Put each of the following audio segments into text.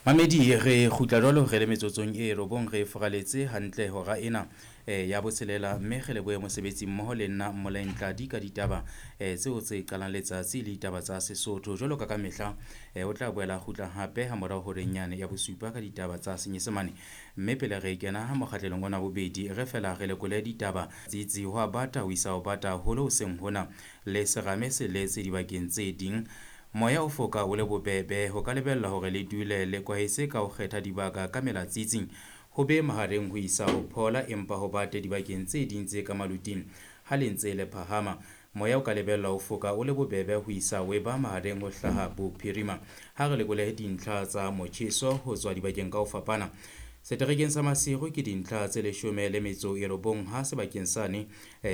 Mamedi re kgutla jwalo re le metsotsong e robong re foraletse hantle hora ena ya botshelela, mme re lebohe mosebetsi mmoho le nna Mmolaeng Tladi ka ditaba tseo tse qalang letsatsi le ditaba tsa Sesotho. Jwalo ka ka mehla o tla boela kgutla hape ha morao horeng yane ya bosupa ka ditaba tsa Senyesemane. Mme pele re kena mokgatlelong ona bobedi re fela re lekole ditaba tsitsi ho a bata ho isa ho bata haholo hoseng hona le serame se letse dibakeng tse ding. Moya o foka o le bobebe ho ka lebellwa hore le dule le kwahetse ka ho kgetha dibaka ka mela tsitsing. Ho be mahareng ho isa ho phola empa ho bate dibakeng tse ding tse ka maluting ha le ntse le phahama. Moya o ka lebellwa ho foka o le bobebe ho isa ho eba mahareng ho hlaha bophirima. Ha re lekole dintlha tsa motjheso ho tswa dibakeng ka ho fapana. Seterekeng sa Maseru ke dintlha tse 19 ha sebakeng sane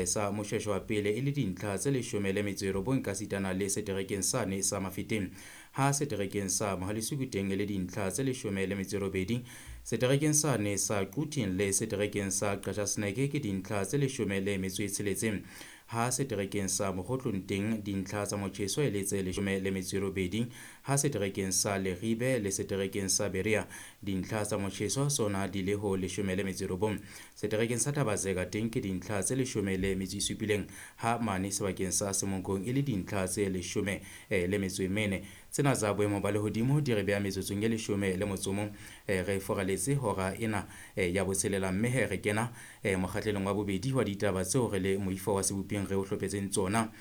sa Moshweshwe wa pele e le dintlha tse 19 ka sitana le seterekeng sane sa Mafeteng. Ha seterekeng sa Mohalesuku teng e le dintlha tse 18, seterekeng sane sa Quthing le seterekeng sa Qachaseneke ke dintlha tse 16. Ha seterekeng sa Mokgotlong teng dintlha tsa motjheso e le tse 18, ha seterekeng sa Leribe le seterekeng sa Berea dintlha tsa motjheso tsona di le ho 19. Seterekeng sa Thabazeka teng ke dintlha tse 17, ha mane sebakeng sa Semonkong e le dintlha tse 14. Tsena tsa boemo ba lehodimo di re beha metsotsong e 11 re foraletse hora ena ya botshelela, mme re kena mokgatlelong wa bobedi wa ditaba tseo re le moifo wa seboping re o hlophetseng tsona.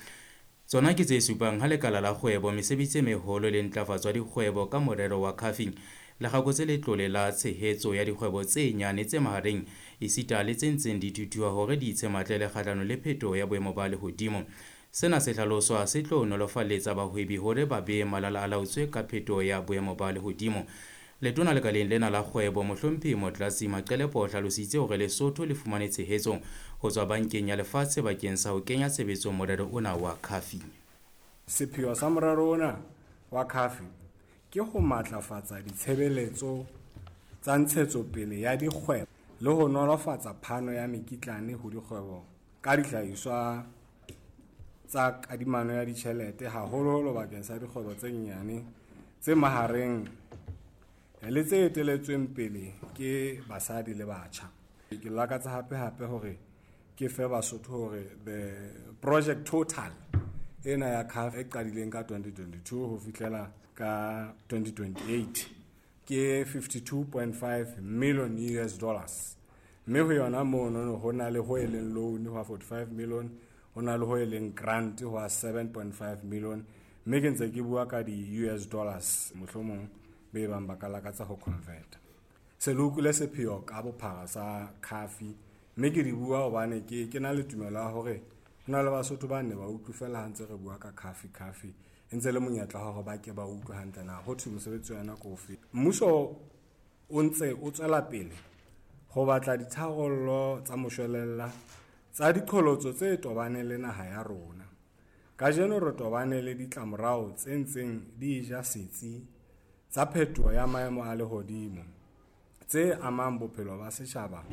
Tsona ke tse supang ha lekala la kgwebo, mesebetsi e meholo le ntlafatso ya dikgwebo ka morero wa CAFI le kgakotse letlole la tshehetso ya dikgwebo tse nyane tse mahareng esita le tse ntseng di thuthuha hore di itshematlele kgahlano le phetoho ya boemo ba lehodimo. Sena se hlaloswa se tlo nolofaletsa bahwebi hore ba be malala a laotswe ka phetoho ya boemo ba lehodimo. Letona lekaleng lena la kgwebo Mohlomphehi Motlatsi Maqelepo o hlalositse hore Lesotho le fumane tshehetso ho tswa bankeng ya lefatshe bakeng sa ho kenya tshebetsong morero ona wa CAFI. Sepheo sa morero ona wa CAFI ke ho matlafatsa ditshebeletso tsa ntshetsopele ya dikgwebo le ho nolofatsa phano ya mekitlane ho dikgwebo ka dihlahiswa tsa kadimano ya ditjhelete, haholoholo bakeng sa dikgwebo tse nyane, tse mahareng le tse eteletsweng pele ke basadi le batjha. Ke lakatsa hape hore ke fe Basotho hore the project total ena ya CAF e qadileng ka 2022 ho fihlela ka 2028 ke 52.5 million US dollars. Mme ho yona mono ho na le ho e leng loan ho 45 million, ho na le ho e leng grant ho 7.5 million, mme ke ntse ke bua ka di US dollars mohlomong be bang ba ka lakatsa ho convert. Se le utlwile sepheo ka bophara sa CAFI, mme ke di bua hobane ke na le tumelo ya hore ho na le Basotho ba ne ba utlwe fela ha ntse re bua ka CAFI CAFI e ntse le monyetla hore ba ke ba utlwe hantle na ho thwe mosebetsi wa yona ke ofe. Mmuso o ntse o tswela pele ho batla ditharollo tsa moshwelella tsa diqholotso tse tobaneng le naha ya rona. Kajeno re tobane le ditlamorao tse ntseng di ja setsi tsa phetoho ya maemo a lehodimo tse amang bophelo ba setjhaba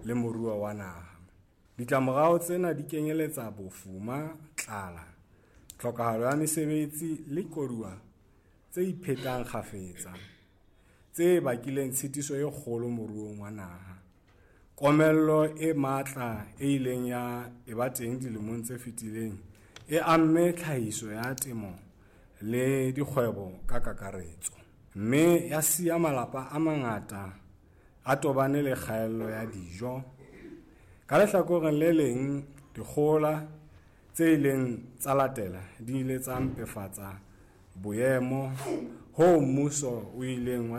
le moruo wa naha. Ditlamorao tsena di kenyeletsa bofuma, tlala, tlhokahalo ya mesebetsi le koduwa tse iphetang kgafetsa tse bakileng tshitiso e kgolo moruong wa naha. Komello e matla e ileng ya eba teng dilemong tse fetileng e amme tlhahiso ya temo le dikgwebo ka kakaretso, mme ya siya malapa a mangata a tobane le kgaello ya dijo. Ka lehlakoreng le leng, dikgohola tse ileng tsa latela di ile tsa mpefatsa boemo hoo mmuso o ileng wa